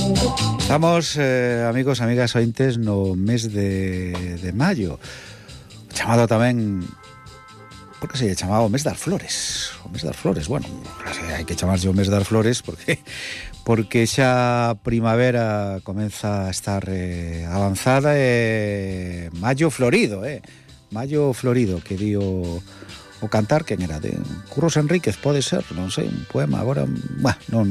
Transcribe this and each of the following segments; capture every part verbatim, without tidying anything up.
Estamos, eh, amigos, amigas ointes, no mes de, de maio, chamado tamén, por que se lle chamaba o mes das flores, o mes das flores, bueno, hai que chamarlle o mes das flores porque porque xa a primavera comeza a estar eh, avanzada e maio florido, eh, maio florido, que di o o cantar, quen era? De Curros Enríquez, pode ser, non sei, un poema, agora, bah, non,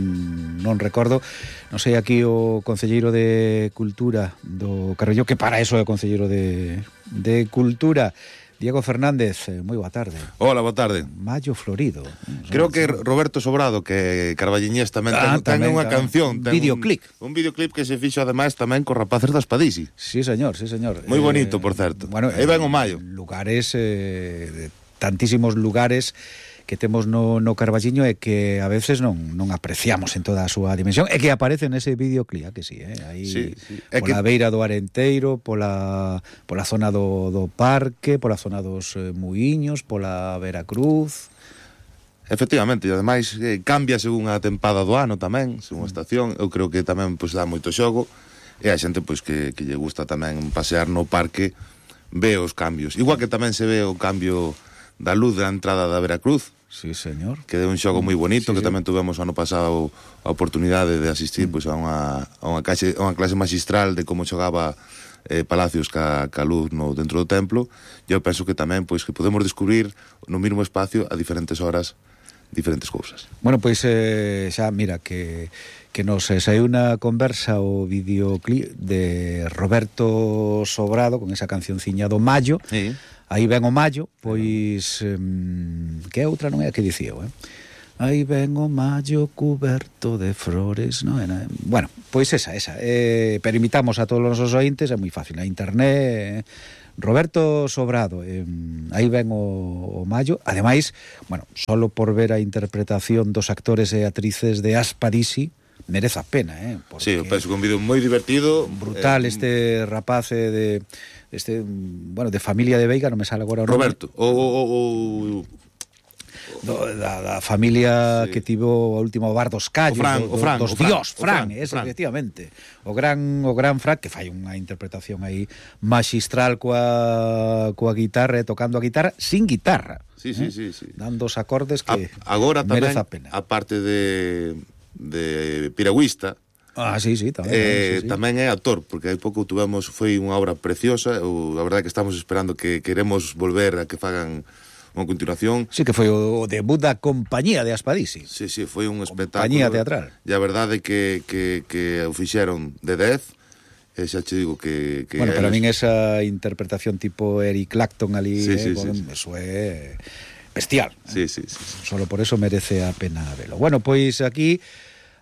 non recordo, non sei, aquí o concelleiro de Cultura do Carballo, que para eso é o concelleiro de, de Cultura, Diego Fernández, moi boa tarde. Hola, boa tarde. Maio florido. Creo que Roberto Sobrado, que Carballiñés tamén ah, ten, ten unha canción, ten videoclip. Un, un videoclip que se fixo ademais tamén co rapaces das Padisi. Sí, señor, sí, señor. Moi bonito, eh, por certo. Bueno, aí ven o maio. Lugares eh, de tantísimos lugares que temos no, no Carballiño e que a veces non, non apreciamos en toda a súa dimensión e que aparece nese videoclip, que sí, eh? Aí sí, sí. pola que... beira do Arenteiro, pola, pola zona do, do parque, pola zona dos eh, Muiños, pola Veracruz. Efectivamente, e ademais eh, cambia según a tempada do ano tamén, según a estación. Eu creo que tamén pois, dá moito xogo e a xente pois que, que lle gusta tamén pasear no parque ve os cambios, igual que tamén se ve o cambio da luz da entrada da Veracruz. Sí, señor. Que é un xogo moi bonito, sí, que sí. tamén tuvemos ano pasado a oportunidade de asistir mm. pois, a, unha, a unha, clase, a unha clase magistral de como xogaba eh, Palacios ca, ca luz no, dentro do templo. E eu penso que tamén pois, que podemos descubrir no mesmo espacio a diferentes horas diferentes cousas. Bueno, pois eh, xa, mira, que que nos eh, saiu unha conversa o videoclip de Roberto Sobrado con esa cancionciña do Maio. Sí. Aí ven o Maio, pois eh, que outra non é a que dicía eu, eh? Aí ven o Maio cuberto de flores, non é? Bueno, pois esa, esa. Eh, pero invitamos a todos os nosos ointes, é moi fácil, na internet. Eh, Roberto Sobrado, eh, aí ven o, o Maio. Ademais, bueno, solo por ver a interpretación dos actores e actrices de Aspadisi, merece a pena, eh? Sí, eu penso que un vídeo moi divertido. Brutal, eh, este rapaz eh, de... este, bueno, de familia de Veiga, non me sale agora o nome. Roberto, o... o, o, o... Do, da, da familia sí. que tivo o último bar dos Callos, o Fran, do, o Fran, dos o Fran, Dios, Fran, Fran, ese, Fran. efectivamente. O gran o gran Fran, que fai unha interpretación aí magistral coa, coa guitarra, tocando a guitarra, sin guitarra. Sí, eh? sí, sí, sí. Dando os acordes que a, agora merece tamén, a pena. a parte de, de piragüista, Ah, sí, sí, tamén, eh, sí, sí. tamén é actor, porque hai pouco tuvemos, foi unha obra preciosa, ou a verdade que estamos esperando que queremos volver a que fagan unha continuación. Sí, que foi o debut da compañía de Aspadisi. Sí, sí, foi un espectáculo. Compañía teatral. E a verdade que, que, que o fixeron de dez, e xa te digo que... que bueno, pero a eles... min esa interpretación tipo Eric Clapton ali, sí, sí, eh, sí, bueno, sí. eso é bestial. Sí, sí, sí, sí. Solo por eso merece a pena velo. Bueno, pois aquí...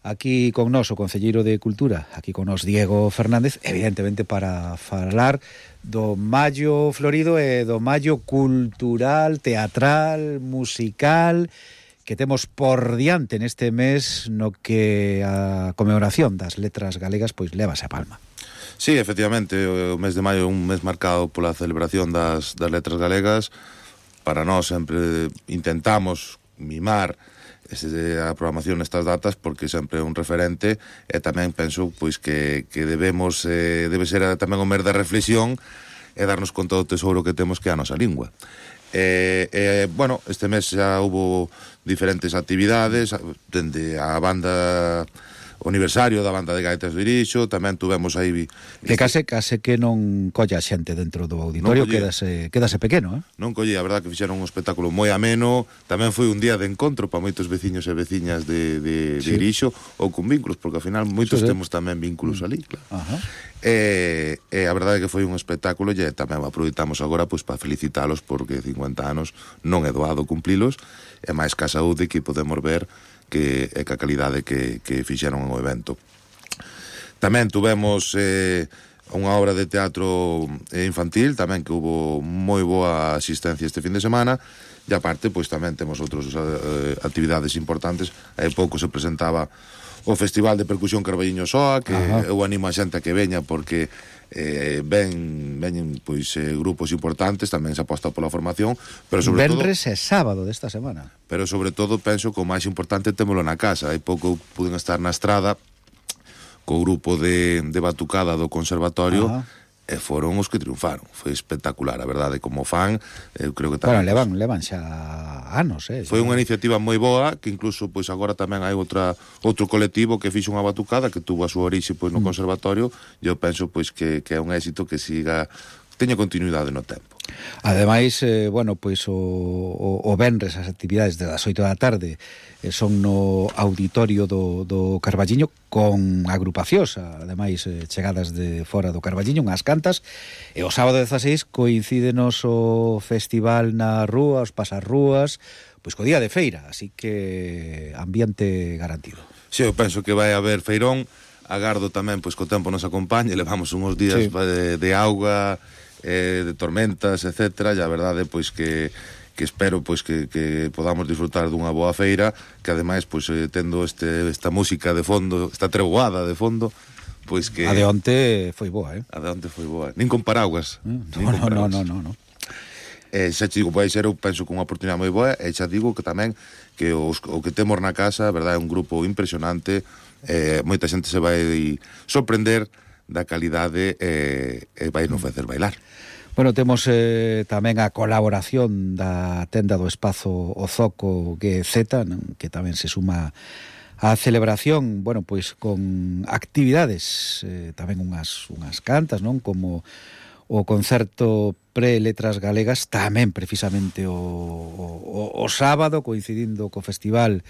Aquí con nos o concelleiro de Cultura, aquí con nos Diego Fernández, evidentemente para falar do Maio florido e do Maio cultural, teatral, musical, que temos por diante neste mes no que a conmemoración das letras galegas pois levase a palma. Sí, efectivamente, o mes de maio é un mes marcado pola celebración das, das letras galegas. Para nós sempre intentamos mimar ese, a programación nestas datas porque sempre é un referente e tamén penso pois que, que debemos eh, debe ser tamén o mes da reflexión e darnos con todo o tesouro que temos que é a nosa lingua. Eh, eh, bueno, este mes xa hubo diferentes actividades dende a banda o aniversario da banda de gaitas do Irixo, tamén tuvemos aí que case case que non colla xente dentro do auditorio, quedase quedase pequeno, eh? Non collía, a verdade que fixeron un espectáculo moi ameno, tamén foi un día de encontro para moitos veciños e veciñas de, de, de sí. Irixo, ou con vínculos, porque ao final moitos sí, sí. temos tamén vínculos ali, claro. Ajá. E, e a verdade que foi un espectáculo e tamén aproveitamos agora pois para felicitalos porque cincuenta anos non é doado cumplilos, e máis que a saúde que podemos ver que é que a calidade que, que fixeron o evento. Tamén tuvemos eh, unha obra de teatro infantil, tamén que hubo moi boa asistencia este fin de semana, e aparte, pois tamén temos outras eh, actividades importantes. Hai pouco se presentaba o Festival de Percusión Carballiño Soa, que Ajá. eu animo a xente a que veña, porque eh, ven, veñen pois, eh, grupos importantes, tamén se aposta pola formación, pero sobre Venres todo... e sábado desta semana. Pero sobre todo penso que o máis importante témolo na casa. Hai pouco puden estar na estrada co grupo de, de batucada do conservatorio. Ajá. E foron os que triunfaron. Foi espectacular, a verdade, como fan. Eu creo que tamén... Bueno, levan, levan xa anos, eh. Foi unha iniciativa moi boa, que incluso pois agora tamén hai outra outro colectivo que fixo unha batucada que tuvo a súa orixe pois no mm. conservatorio, e eu penso pois que, que é un éxito que siga, teña continuidade no tempo. Ademais, eh, bueno, pois o, o, o venres as actividades das oito da tarde eh, son no auditorio do, do Carballiño con agrupacións, ademais eh, chegadas de fora do Carballiño, unhas cantas, e o sábado dezaseis coincídenos o festival na rúa, os pasarrúas, pois co día de feira, así que ambiente garantido. Si, sí, eu penso que vai haber feirón, agardo tamén pois co tempo nos acompañe, levamos uns días sí. de, de auga, eh, de tormentas, etcétera, e a verdade pois que que espero pois que, que podamos disfrutar dunha boa feira, que ademais pois eh, tendo este esta música de fondo, esta treboada de fondo, pois que a de onte foi boa, eh? A de onte foi boa, nin con paraguas. Mm, nin no, con no, paraguas. no, no, no, no. Eh, xa te digo, vai ser, eu penso que unha oportunidade moi boa, e xa digo que tamén que os, o que temos na casa, verdade, é un grupo impresionante, eh, moita xente se vai sorprender da calidade e eh, vai non facer bailar. Bueno, temos eh, tamén a colaboración da tenda do espazo O Zoco G Z, non? Que tamén se suma á celebración, bueno, pois con actividades, eh, tamén unhas, unhas cantas, non? Como o concerto pre-letras galegas, tamén precisamente o, o, o sábado, coincidindo co festival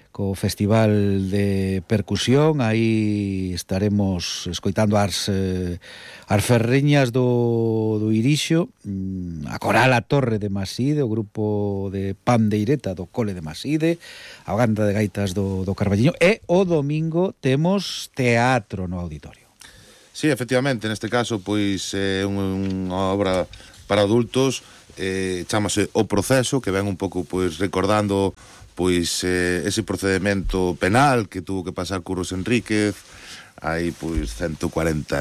co Festival de Percusión. Aí estaremos escoitando as, eh, as ferreñas do, do Irixo, a Coral A Torre de Maside, o grupo de Pandeireta do Cole de Maside, a banda de gaitas do, do Carballiño, e o domingo temos teatro no auditorio. Sí, efectivamente, neste caso, pois é eh, unha obra para adultos, eh, chamase O Proceso, que ven un pouco pois recordando pois eh, ese procedimento penal que tuvo que pasar Curros Enríquez hai pois ciento cuarenta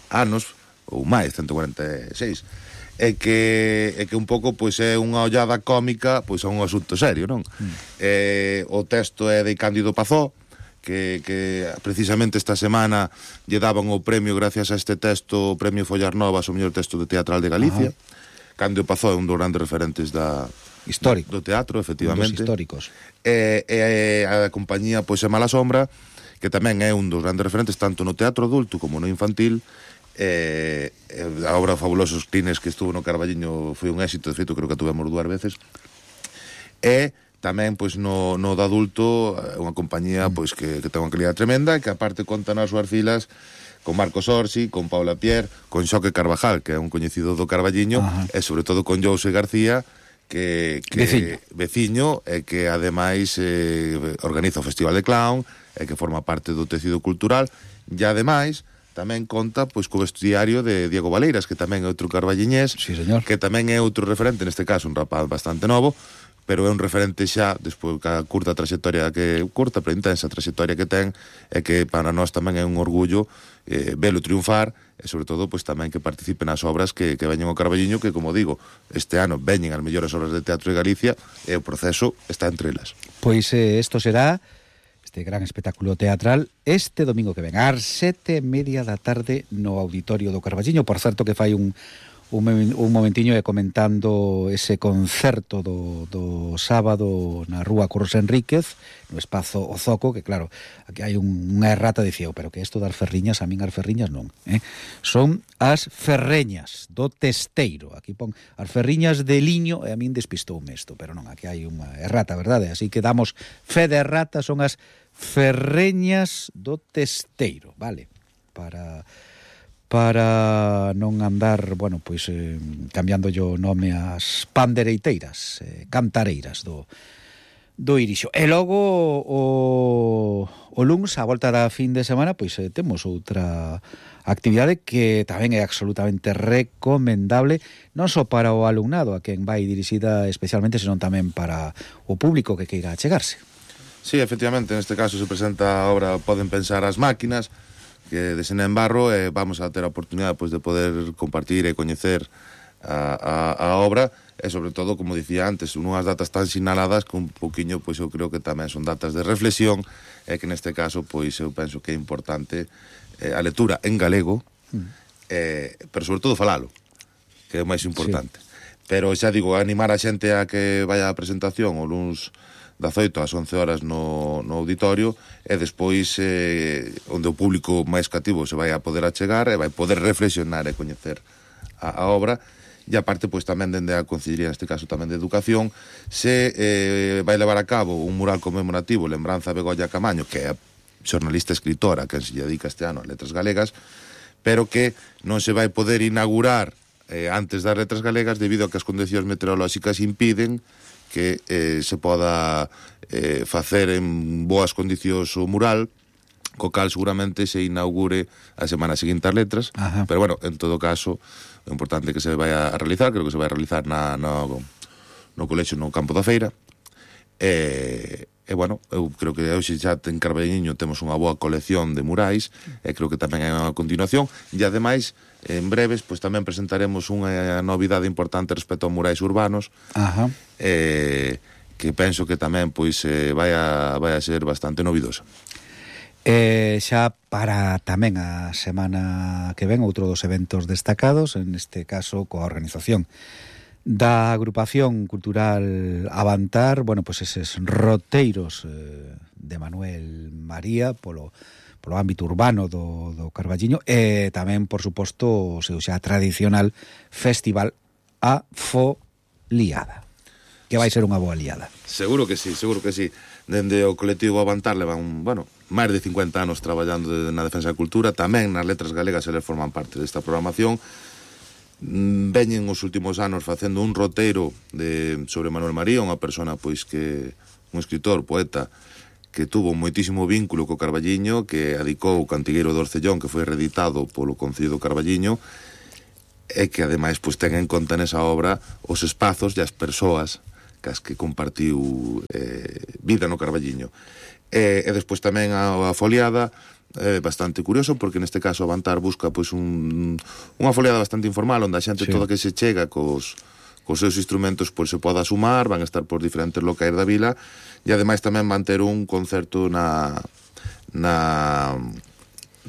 anos ou máis, ciento cuarenta e seis, e que é que un pouco pois é unha ollada cómica pois a un asunto serio, non? Mm. Eh, o texto é de Cándido Pazó, que, que precisamente esta semana lle daban o premio gracias a este texto, o premio Follar Novas, o mellor texto de teatral de Galicia. Ajá. Cándido Pazó é un dos grandes referentes da histórico do teatro, efectivamente, dos históricos. E, e a compañía pois é Mala Sombra, que tamén é un dos grandes referentes tanto no teatro adulto como no infantil. E, e a obra Fabulosos Clines que estuvo no Carballiño foi un éxito, de feito creo que a tuvemos dúas veces. E tamén pois no, no de adulto é unha compañía pois que, que ten unha calidad tremenda, e que aparte conta nas súas filas con Marcos Orsi, con Paula Pierre, con Xoque Carvajal, que é un coñecido do Carballiño. Ajá. E sobre todo con Jose García, que, que veciño. veciño e que ademais eh, organiza o Festival de Clown e que forma parte do tecido cultural, e ademais tamén conta pois co vestiario de Diego Valeiras, que tamén é outro carballiñés, sí, señor, que tamén é outro referente, neste caso un rapaz bastante novo, pero é un referente xa despois da curta trayectoria que curta, pero intensa trayectoria que ten, e que para nós tamén é un orgullo eh, velo triunfar, e sobre todo pois tamén que participe nas obras que, que veñen ao Carballiño, que como digo, este ano veñen as mellores obras de teatro de Galicia, e o Proceso está entre elas. Pois eh, isto será este gran espectáculo teatral este domingo que ven ás sete e media da tarde no auditorio do Carballiño. Por certo que fai un Un, un momentiño e comentando ese concerto do, do sábado na rúa Curros Enríquez, no espazo O Zoco, que claro, aquí hai un, unha errata, dicía, pero que isto das ferriñas, a min as ferriñas non, eh? Son as ferreñas do testeiro. Aquí pon as ferriñas de liño, e a min despistoume isto, pero non, aquí hai unha errata, verdade? Así que damos fe de errata, son as ferreñas do testeiro, vale? Para... para non andar, bueno, pois eh, cambiando o nome ás pandereiteiras, eh, cantareiras do, do Irixo. E logo o, o luns, a volta da fin de semana, pois eh, temos outra actividade que tamén é absolutamente recomendable, non só para o alumnado a quen vai dirixida especialmente, senón tamén para o público que queira achegarse. Sí, efectivamente, neste caso se presenta a obra Poden Pensar as Máquinas, que de Sena en Barro, e eh, vamos a ter a oportunidade pois, de poder compartir e coñecer a, a, a obra, e sobre todo, como dicía antes, unhas datas tan sinaladas que un poquinho, pois eu creo que tamén son datas de reflexión, e que neste caso, pois eu penso que é importante eh, a lectura en galego, mm. eh, pero sobre todo falalo, que é o máis importante. Sí. Pero xa digo, animar a xente a que vaya á presentación o luns das oito ás once horas no, no auditorio, e despois eh, onde o público máis cativo se vai a poder achegar e vai poder reflexionar e coñecer a, a obra. E aparte, pois tamén dende a Consellería, neste caso tamén de Educación, se eh, vai levar a cabo un mural conmemorativo Lembranza Begolla Camaño, que é a xornalista escritora que se dedica este ano a letras galegas, pero que non se vai poder inaugurar eh, antes das letras galegas debido a que as condicións meteorolóxicas impiden que eh, se poda eh, facer en boas condicións o mural, co cal seguramente se inaugure a semana seguinte as letras. Ajá. Pero bueno, en todo caso, é importante que se vai a realizar, creo que se vai a realizar na, no, no colexio no Campo da Feira, e, e bueno, eu creo que hoxe xa en Carballiño temos unha boa colección de murais, e creo que tamén hai unha continuación, e ademais, en breves, pois tamén presentaremos unha novidade importante respecto aos murais urbanos. Ajá. E, que penso que tamén pois eh, vai, a, vai a ser bastante novidosa. E xa para tamén a semana que ven outro dos eventos destacados, en este caso coa organización da agrupación cultural Avantar, bueno, pois eses roteiros eh, de Manuel María polo, polo ámbito urbano do, do Carballiño, e tamén, por suposto, o seu xa tradicional festival A Foliada, que vai ser unha boa liada. Seguro que sí, seguro que sí. Dende o colectivo Avantar levan, bueno, máis de cincuenta anos traballando de, na defensa da cultura, tamén nas letras galegas eles forman parte desta programación. Veñen os últimos anos facendo un roteiro de, sobre Manuel María, unha persona pois que, un escritor, poeta, que tuvo moitísimo vínculo co Carballiño, que adicou o Cantigueiro do Orcellón, que foi reeditado polo Concello do Carballiño, e que ademais pois ten en conta nesa obra os espazos e as persoas cas que compartiu eh, vida no Carballiño. E, e despois tamén a, a foliada, é eh, bastante curioso, porque neste caso Avantar busca pois un, unha foliada bastante informal, onde a xente sí. toda que se chega cos, cos seus instrumentos pois se poda sumar, van a estar por diferentes locais da vila, e ademais tamén van ter un concerto na na,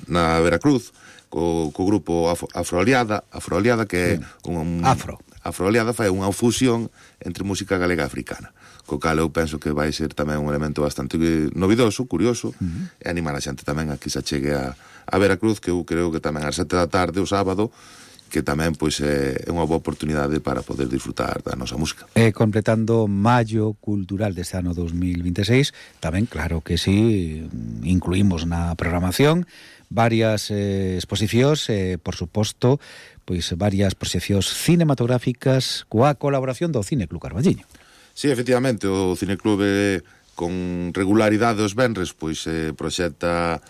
na Veracruz, co, co grupo Afro, Afroaliada, Afroaliada, que é un... Afro. Afroaliada fai unha fusión entre música galega e africana, co cal eu penso que vai ser tamén un elemento bastante novidoso, curioso, uh-huh. e animar a xente tamén a que se chegue a, a Veracruz, que eu creo que tamén ás sete da tarde o sábado, que tamén pois é unha boa oportunidade para poder disfrutar da nosa música. E completando Maio Cultural deste ano dos mil veintiséis, tamén claro que sí, incluímos na programación varias eh, exposicións e, eh, por suposto, pois varias proxeccións cinematográficas coa colaboración do Cine Club Carballiño. Sí, efectivamente, o Cine Club eh, con regularidade os venres pois eh, proxecta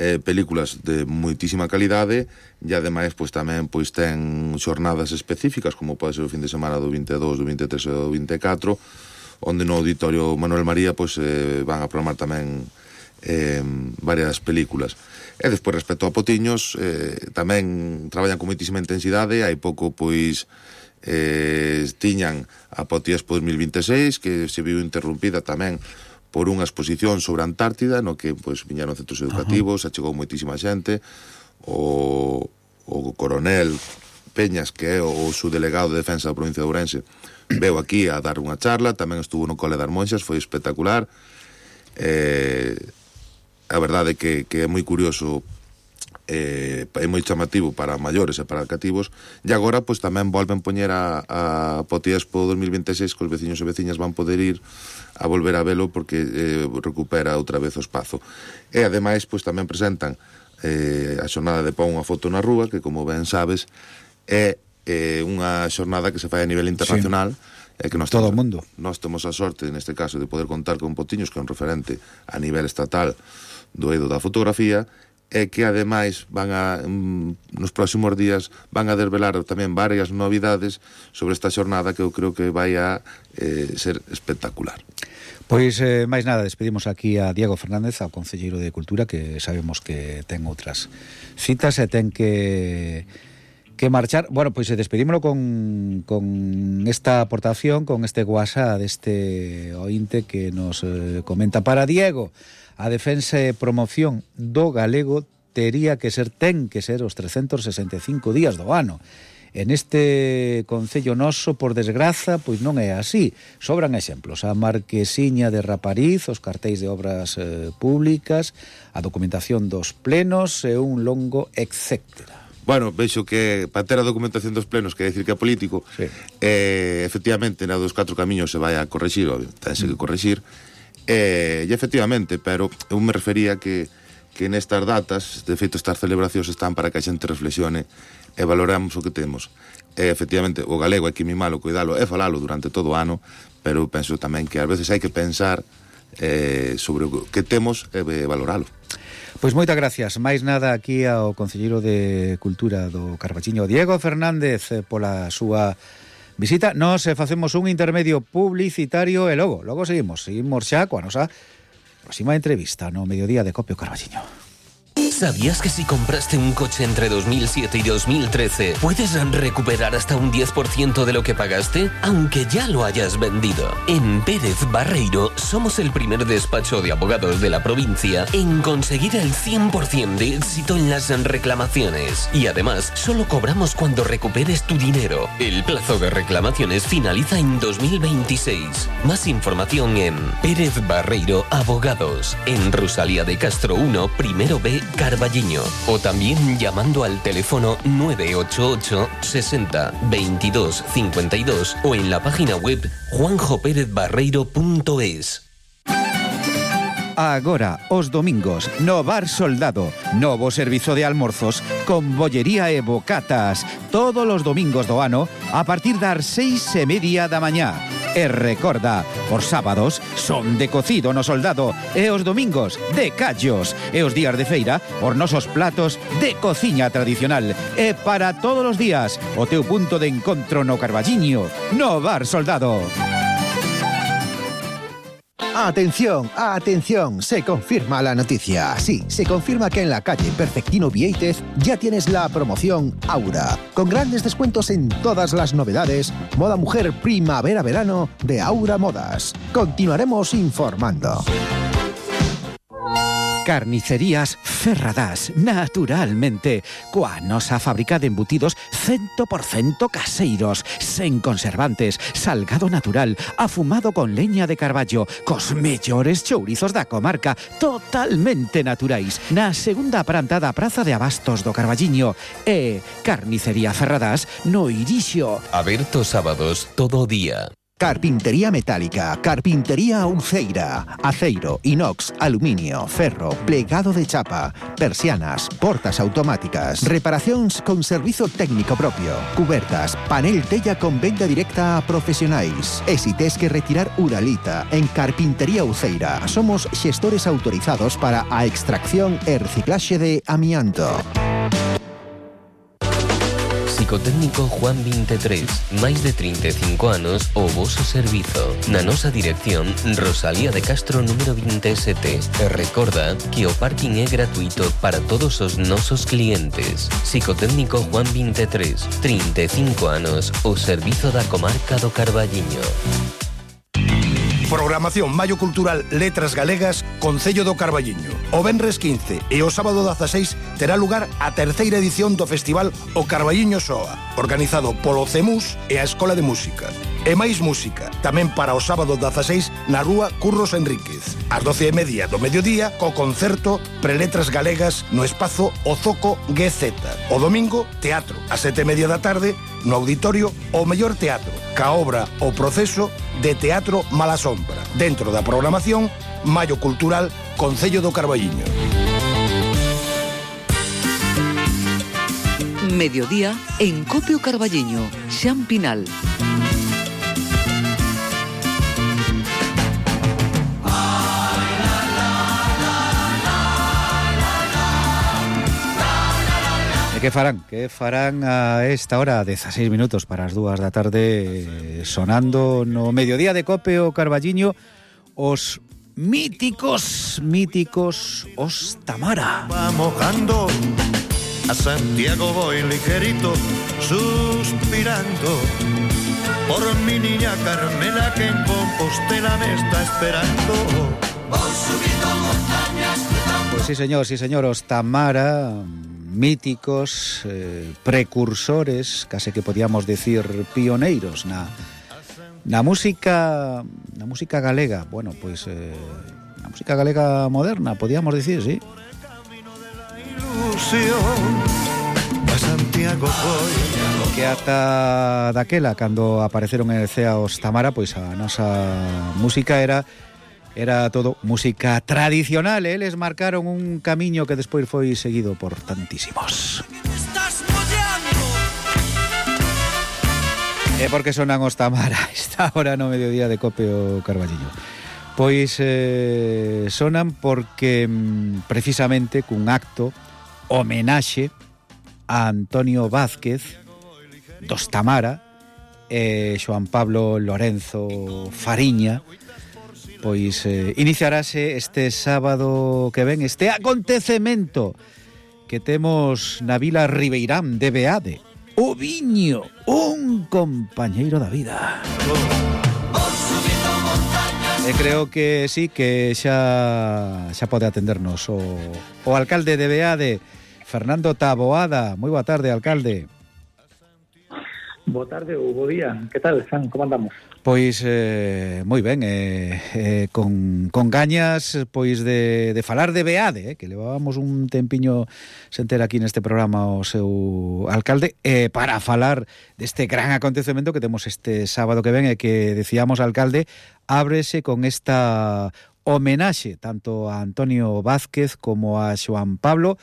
eh, películas de moitísima calidade, e ademais pois tamén pois ten xornadas específicas, como pode ser o fin de semana do vinte e dous, do vinte e tres e do vinte e catro, onde no auditorio Manuel María pois eh, van a programar tamén eh, varias películas. E despois, respecto a Potiños, eh, tamén traballan con moitísima intensidade. Hai pouco, pois, eh, tiñan a Potiexpo dos mil veintiséis, que se viu interrumpida tamén por unha exposición sobre a Antártida, no que, pois, viñeron centros educativos, uh-huh. achegou moitísima xente. O, o coronel Peñas, que é o subdelegado de defensa da provincia de Ourense, veu aquí a dar unha charla, tamén estuvo no Cole das Monxas, foi espectacular. Eh... A verdade é que, que é moi curioso, eh, é moi chamativo para maiores e para cativos, e agora pois tamén volven poñer a, a Potiexpo dos mil veintiséis, que os veciños e veciñas van poder ir a volver a velo, porque eh, recupera outra vez o espazo. E ademais pois tamén presentan eh, a xornada de Pon unha foto na rúa, que como ben sabes é eh, unha xornada que se fai a nivel internacional. Sí. É que nós todo o mundo. Nós temos a sorte, neste caso, de poder contar con Potiños, que é un referente a nivel estatal do eido da fotografía, e que ademais van a, nos próximos días van a desvelar tamén varias novidades sobre esta xornada, que eu creo que vai a eh, ser espectacular. Pois, eh, máis nada, despedimos aquí a Diego Fernández, ao Concelleiro de Cultura, que sabemos que ten outras citas e ten que que marchar. Bueno, pois pues, despedímolo con, con esta aportación, con este WhatsApp deste ointe que nos eh, comenta para Diego. A defensa e promoción do galego tería que ser, ten que ser os trescentos sesenta e cinco días do ano. En este concello noso, por desgraza, pois non é así. Sobran exemplos. A marquesiña de Rapariz, os cartéis de obras eh, públicas, a documentación dos plenos e un longo etcétera. Bueno, vexo que para ter a documentación dos plenos, quer decir que é político, sí. eh, efectivamente, na dos catro camiños se vai a correxir, obvio, tense que correxir, eh, e efectivamente, pero eu me refería que, que nestas datas, de feito estas celebracións están para que a xente reflexione e valoramos o que temos. E, efectivamente, o galego hai que mimalo, cuidalo e falalo durante todo o ano, pero penso tamén que ás veces hai que pensar eh, sobre o que temos e valoralo. Pois moitas gracias. Máis nada aquí ao concelleiro de Cultura do Carballiño, Diego Fernández, pola súa visita. Nos facemos un intermedio publicitario e logo, logo seguimos. Seguimos xa coa nosa próxima entrevista no Mediodía de Cope o Carballiño. ¿Sabías que si compraste un coche entre dos mil siete y dos mil trece puedes recuperar hasta un diez por ciento de lo que pagaste, aunque ya lo hayas vendido? En Pérez Barreiro somos el primer despacho de abogados de la provincia en conseguir el cien por ciento de éxito en las reclamaciones. Y además, solo cobramos cuando recuperes tu dinero. El plazo de reclamaciones finaliza en dos mil veintiséis. Más información en Pérez Barreiro Abogados, en Rosalía de Castro uno, primero B, Carballiño, o también llamando al teléfono nueve ocho ocho sesenta veintidós cincuenta y dos o en la página web juanjo pérez barreiro punto es. Agora, os domingos, no Bar Soldado, novo servizo de almorzos con bollería e bocatas, todos os domingos do ano a partir das seis e media da mañá. E recorda, os sábados son de cocido no Soldado e os domingos de callos e os días de feira os nosos platos de cociña tradicional e para todos os días o teu punto de encontro no Carballiño, no Bar Soldado. Atención, atención, se confirma la noticia. Sí, se confirma que en la calle Perfectino Vieitez ya tienes la promoción Aura, con grandes descuentos en todas las novedades, moda mujer primavera-verano de Aura Modas. Continuaremos informando. Carnicerías Ferradás, naturalmente, coa nosa fábrica de embutidos cien por ciento caseiros, sen conservantes, salgado natural, afumado con leña de carballo, cos mellores chourizos da comarca, totalmente naturais, na segunda planta da Praza de Abastos do Carballiño. E Carnicería Ferradás no Irixo. Aberto sábados todo día. Carpintería metálica, carpintería Uceira, aceiro, inox, aluminio, ferro, plegado de chapa, persianas, portas automáticas, reparacións con servizo técnico propio, cubertas, panel tella con venda directa a profesionais. E si tes que retirar uralita, en Carpintería Uceira somos xestores autorizados para a extracción e reciclaxe de amianto. Psicotécnico Juan veintitrés, máis de trinta e cinco anos o voso servizo. Na nosa dirección, Rosalía de Castro número veintisiete. E recorda que o parking é gratuito para todos os nosos clientes. Psicotécnico Juan veintitrés, trinta e cinco anos o servizo da comarca do Carballiño. Programación Maio Cultural Letras Galegas, Concello do Carballiño. O venres quince e o sábado dezaseis terá lugar a terceira edición do festival O Carballiño Soa, organizado polo CEMUS e a Escola de Música. E máis música, tamén para o sábado dezaseis na rúa Curros Enríquez, ás doce e media do mediodía, co concerto Preletras Galegas no espazo O Zoco G Z. O domingo, teatro, ás sete e media da tarde, no auditorio O Mellor Teatro, ca obra O Proceso de Teatro Mala Sombra, dentro da programación Maio Cultural Concello do Carballiño. Mediodía en Cope o Carballiño, Xan Pinal. E que farán? Que farán a esta hora, dezaseis minutos para as dúas da tarde, sonando no Mediodía de Cope o Carballiño os míticos, míticos os Tamara. Va mojando A Santiago voy ligerito, suspirando por mi niña Carmela que en Compostela me está esperando. Voy subiendo montañas. Pues sí, señor, sí, señor, os Tamara, míticos, eh, precursores, case que podíamos decir pioneiros na, na música na música galega. Bueno, pois pues, eh, na música galega moderna, podíamos decir, sí. A Santiago voy. Que ata daquela, cando apareceron en C E A os Tamara, pois a nosa música era era todo música tradicional, eh? Eles marcaron un camiño que despois foi seguido por tantísimos. E por que sonan os Tamara esta hora no mediodía de Copio Carballiño? Pois eh, sonan porque mm, precisamente cun acto homenaxe a Antonio Vázquez dos Tamara e Xoán Pablo Lorenzo Fariña, pois eh, iniciarase este sábado que ven este acontecemento que temos na Vila Ribeirán de Beade, o viño, un compañeiro da vida. E creo que sí, que xa xa pode atendernos o, o alcalde de Beade, Fernando Taboada. Moi boa tarde, alcalde. Boa tarde ou bo día. Que tal, San? Como andamos? Pois eh, moi ben, eh, eh, con, con gañas pois de, de falar de Beade, eh, que levábamos un tempiño sen ter aquí neste programa o seu alcalde, eh, para falar deste gran acontecemento que temos este sábado que ven e que decíamos, alcalde, ábrese con esta homenaxe tanto a Antonio Vázquez como a Xoán Pablo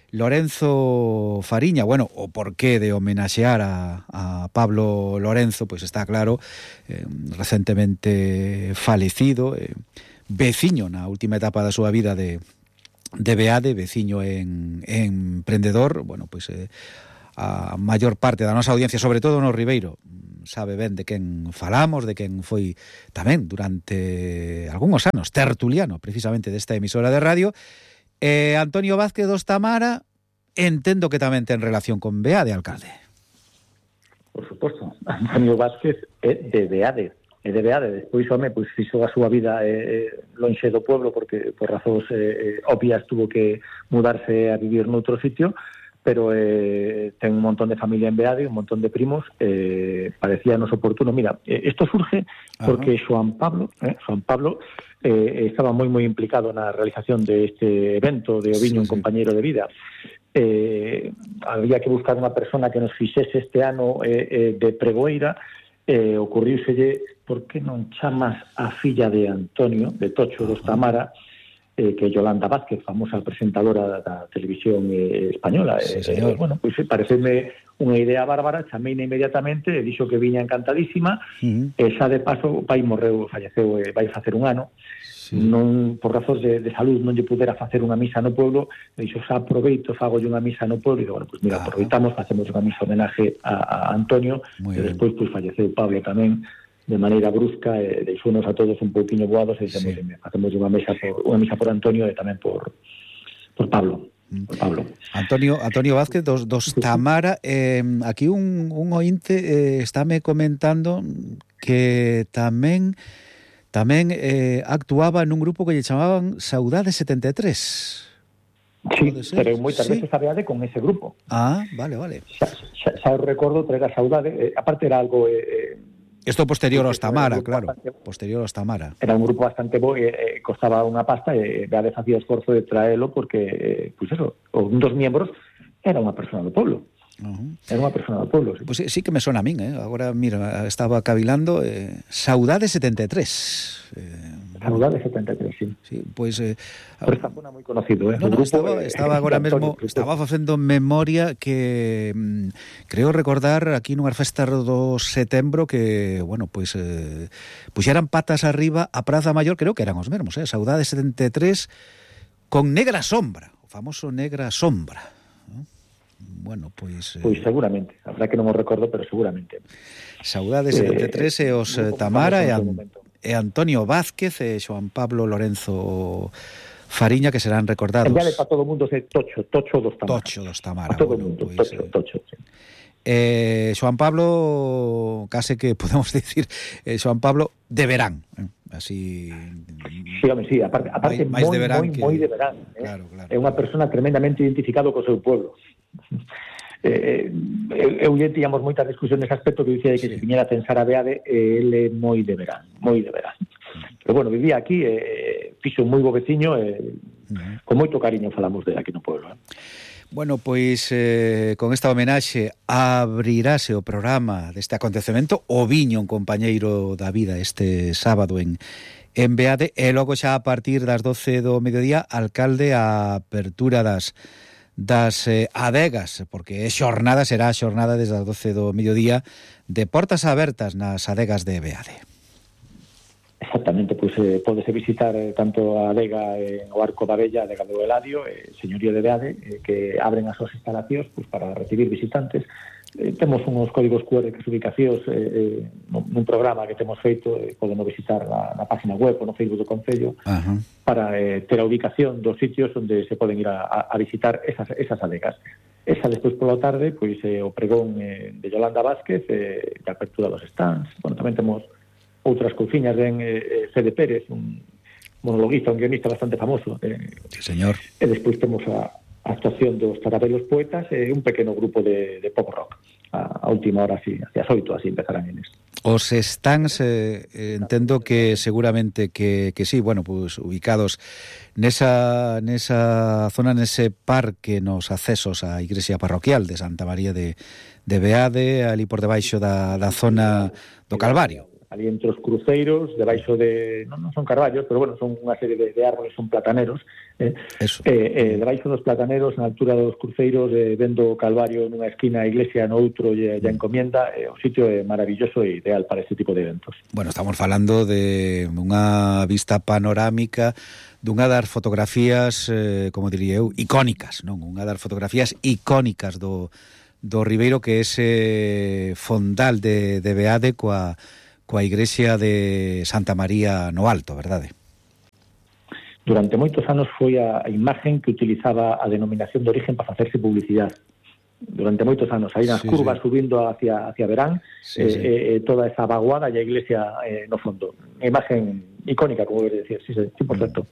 Lorenzo Fariña. Bueno, o porqué de homenaxear a, a Pablo Lorenzo, pois está claro, eh, recentemente falecido, eh, veciño na última etapa da súa vida de, de Beade, veciño en, en emprendedor. Bueno, pois eh, a maior parte da nosa audiencia, sobre todo no Ribeiro, sabe ben de quen falamos, de quen foi tamén durante algúns anos tertuliano precisamente desta emisora de radio. Eh, Antonio Vázquez dos Tamara, entendo que tamén ten relación con Beade, alcalde. Por suposto, Antonio Vázquez é de Beade, é de Beade, despois home, pois fixo a súa vida eh, lonxe do pueblo porque por razóns eh, obvias tuvo que mudarse a vivir noutro sitio, pero eh, ten un montón de familia en Beade, un montón de primos, eh, parecíanos oportuno. Mira, eh, esto surge porque Xoán Pablo, eh, Xoán Pablo eh, estaba moi moi implicado na realización de este evento de O Viño, sí, un sí. compañeiro de vida. Eh, había que buscar unha persona que nos fixese este ano eh, eh, de pregoeira, eh, ocurríuselle, por que non chamas a filla de Antonio, de Tocho dos Tamara, eh, que é Yolanda Vázquez, famosa presentadora da televisión eh, española. Sí, eh, eh, bueno, pois pues, pareceme unha idea bárbara, chameina inmediatamente, e dixo que viña encantadísima, uh-huh. e xa de paso o pai morreu, falleceu, e vai facer un ano, sí. non, por razóns de, de salud non lle pudera facer unha misa no pueblo, e dixo, xa aproveito, fago unha misa no pueblo, e digo, bueno, pois pues mira, ah. aproveitamos, facemos unha misa homenaje a, a Antonio, muy e despois pois pues, falleceu Pablo tamén, de maneira brusca, e deixounos a todos un pouquiño boados, e dixemos, sí. facemos unha misa por unha misa por Antonio e tamén por por Pablo. Por Pablo. Antonio Antonio Vázquez dos, dos Tamara, eh, aquí un, un ointe eh, estáme comentando que tamén tamén eh, actuaba nun grupo que lle chamaban Saudade setenta e tres. Sí, pero moitas sí. veces Beade con ese grupo. Ah, vale, vale. Xa, xa, xa recordo traer a Saudade, eh, aparte era algo eh, Isto posterior aos Tamara, claro. Bastante, posterior aos Tamara. Era un grupo bastante bo, e eh, costaba unha pasta, e Beade facía esforzo de traelo porque, eh, pois pues eso, un dos miembros era unha persona do pueblo. Uh-huh. Era unha persona do pueblo. Sí. Pois pues sí, sí que me sona a min, eh? Agora, mira, estaba cavilando eh, Saudade setenta e tres. Eh, Saudade setenta e tres, sí. Sí, pois pues, eh, pero esta zona moi conocido, eh? No, no, grupo, estaba, eh, estaba agora mesmo, estaba facendo memoria que mm, creo recordar aquí nunhas festas do setembro que, bueno, pois pues, eh, puxeran patas arriba a Praza Maior, creo que eran os mesmos, eh? Saudade setenta e tres con Negra Sombra, o famoso Negra Sombra, ¿no? Bueno, pois... Eh... Pois seguramente, a verdad que non me recordo, pero seguramente. Saudade setenta e tres eh, e os eh, Tamara e, An- e Antonio Vázquez e Xoán Pablo Lorenzo Fariña, que serán recordados. En Beade para todo o mundo é Tocho, Tocho dos Tamara. Tocho dos Tamara. A todo o bueno, mundo, pois, Tocho, eh, Tocho, sí. Eh, Xoan Pablo, case que podemos dicir, eh, Xoan Pablo de verán, eh, así... Sí, home, sí, aparte, aparte máis moi, de verán moi, que... moi de verán. Eh? Claro, claro. É unha persona tremendamente identificado co seu pueblo. Eh, eu lle tíamos moitas discusións nese aspecto que dicía que sí. Se viñera a pensar a Beade, eh, ele é moi de verán, moi de verán. Pero bueno, vivía aquí, eh, fixo un moi bo veciño, e eh, uh-huh. con moito cariño falamos de aquí no pueblo. Eh? Bueno, pois eh, con esta homenaxe abrirase o programa deste acontecemento o viño un compañeiro da vida este sábado en, en Beade, e logo xa a partir das doce do mediodía alcalde a apertura das das eh, adegas, porque é xornada, será a xornada desde as doce do mediodía de portas abertas nas adegas de Beade. Exactamente, pois eh, pódese visitar eh, tanto a adega eh, o Arco da Bella, a adega do Eladio, eh, señorío de Beade, eh, que abren as súas instalacións pois, para recibir visitantes. Eh, temos uns códigos cu erre que as ubicacións eh, eh, nun programa que temos feito, eh, podemos visitar na, na página web ou no Facebook do Concello uh-huh. para eh, ter a ubicación dos sitios onde se poden ir a, a visitar esas, esas adegas. Esa despois pola tarde, pois eh, o pregón eh, de Yolanda Vázquez, eh, de apertura dos stands. Bueno, tamén temos outras cousiñas, ben eh, Fede Pérez, un monologuista, un guionista bastante famoso. Eh, sí, señor. E despois temos a, a actuación dos Tarabelos Poetas e eh, un pequeno grupo de, de pop rock. A, a última hora, así, hacia as oito, así empezarán eles. Os stands, eh, entendo que seguramente que, que sí, bueno, pues ubicados nesa, nesa zona, nese parque, nos accesos á igrexa parroquial de Santa María de, de Beade, ali por debaixo da, da zona do Calvario. Ali entre os cruceiros, debaixo de... Non, non son carballos, pero bueno, son unha serie de, de árboles, son plataneros. Eh, Eso. Eh, eh, debaixo dos plataneros, na altura dos cruceiros, eh, vendo o Calvario nunha esquina, a iglesia no outro, e a encomienda, eh, o sitio é maravilloso e ideal para este tipo de eventos. Bueno, estamos falando de unha vista panorámica, dunha das fotografías, eh, como diría eu, icónicas, non? Unha das fotografías icónicas do, do Ribeiro, que é ese fondal de, de Beade coa... coa igrexa de Santa María no Alto, verdade? Durante moitos anos foi a imagen que utilizaba a denominación de origen para facerse publicidade. Durante moitos anos, aí nas sí, curvas sí. subindo hacia, hacia Verán, sí, eh, sí. Eh, toda esa vaguada e a iglesia eh, no fondo. Imagen icónica, como debe decir, sí, sí, cien por ciento.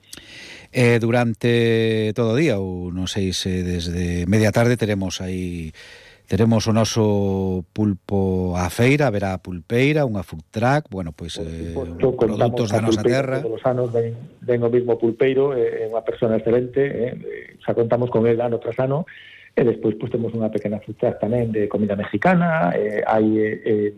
Eh, durante todo o día, ou non sei se desde media tarde, teremos aí... Teremos o noso pulpo á feira, haberá pulpeira, unha food truck, bueno, pois eh, produtos da nosa terra. Todos os anos ven, ven o mismo pulpeiro, é eh, unha persona excelente, eh, xa contamos con el ano tras ano, e despois pois, temos unha pequena food truck tamén de comida mexicana, eh, hai eh,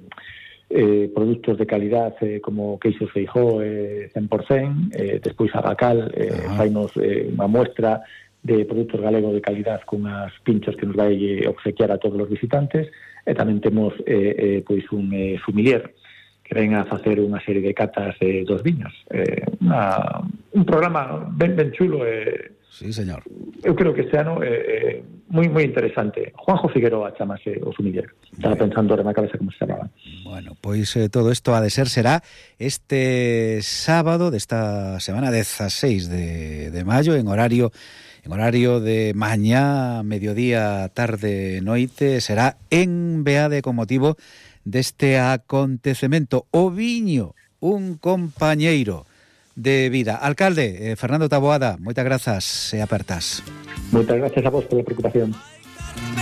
eh, produtos de calidad eh, como queixos Feijó eh, cen por cento, eh, despois Abacal, eh, fainos eh, unha muestra de produtos galegos de calidad con as pinchos que nos vai obsequiar a todos os visitantes, e tamén temos eh, eh, pois un eh, sumilier que ven a facer unha serie de catas eh, dos viños. Eh, una, un programa ben, ben chulo. Eh, sí, señor. Eu creo que este ano é eh, moi moi interesante. Juanjo Figueroa chamase o sumiller. Estaba pensando ahora na cabeza como se chamaba. Bueno, pois eh, todo isto ha de ser será este sábado desta semana dezaseis de, de maio en horario En horario de mañá, mediodía, tarde, noite, será en Beade con motivo deste acontecemento. O viño, un compañeiro de vida. Alcalde, eh, Fernando Taboada, moitas grazas e apertas. Moitas grazas a vos pola preocupación.